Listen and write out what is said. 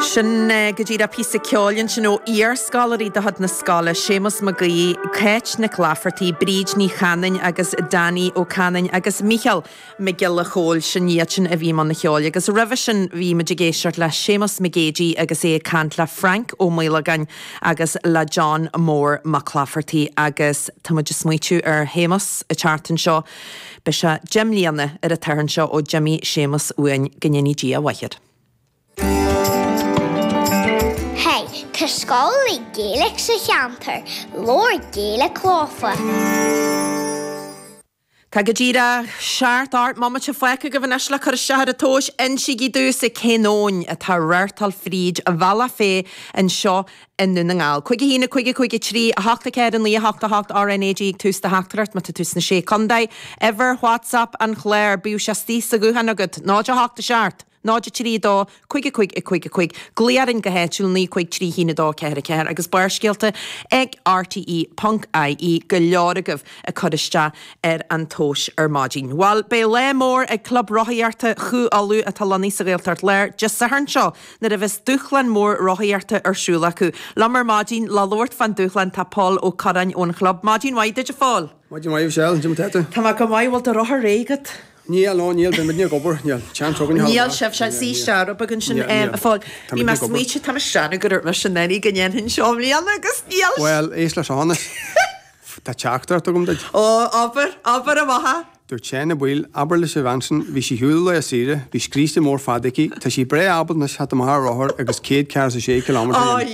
Sin go díreach píosa ceoil ansin ó iarscoláirí de chuid na scoile, Séamus Mac Aoidh, Cáit Nic Laifeartaigh, Bríd Ní Chanainn agus Danny Ó Canainn agus Mícheál Mac Giolla Chóill, sin iad sin a bhí i mbun an cheoil. Agus roimhe sin bhí muid ag éisteacht le Séamus Mac Géidigh agus é ag caint le Frank Ó Maolagáin agus le John Mór Mac Laifeartaigh agus tá muid ag smaoitiú ar Shéamus an tseachtain seo. Beidh sé 10 mbliana ar an tSatharn seo ó d'imigh Séamus uainn, go ndéanaí Dia a mhaith air. Hey, tá scoil le Gaeilge sa cheantar, labhair Gaeilge leofa. Tá go díreach 7 8 mbomaite fágtha agaibh anois le cur isteach ar an tomhas. Insígí domhsa cén abhainn atá ag reáchtáil fríd Bhealach Féich anseo i nDún na nGall. 5 1 5 5 3 8 4 9 8 8 RNAG ag tús do theachtaireacht má tá tú sna Sé Contae. Uimhir WhatsApp an chláir, bíodh sé istigh sa ghuthán agat, 0 8 7 0 3 2 5 5 5 5. Glaoigh orainn go háitiúil 9 5 3 1 2 4 4 agus Barrscéalta ag rte ponc ie go leor agaibh ag cur isteach ar an tomhas ar maidin. Bhuel, beidh lá mór ag Club Rothaíochta Chú Uladh atá lonnaithe sa Ghaeltacht Láir Dé Sathairn seo nuair a bheas dúshlán mór rothaíochta ar siúl acu. Liom ar maidin le labhairt fán dúshlán tá Pól Ó Curráin ón chlub. Maidin mhaith duit a Phóil. Maidin mhaith a Mhichelle, cad é mar tá tú? Tá mé go maith, bhfuil do rothar réidh agat? Níl, no, níl, beidh muidne ag obair, níl, seans againn a Níl sibhse, suigh isteach rud beag ansin, a Phóil. Bhí mé ag smaoitiú, tá mise ag déanamh go raibh mise in ann go ndéanfainn seo i mbliana agus níl. Bhuel, éist leis seo anois. Tá teachtaireacht agam duit. Ó, abair, abair amach é. Dúirt Seán a' Bhaoill, abair leis an bhean sin, bhí sí ar shiúl lá saoire, bhí scríste mór fada aici, tá sí breá ábalta anois theacht amach ar rothar agus 146 kilometre a dhéanamh.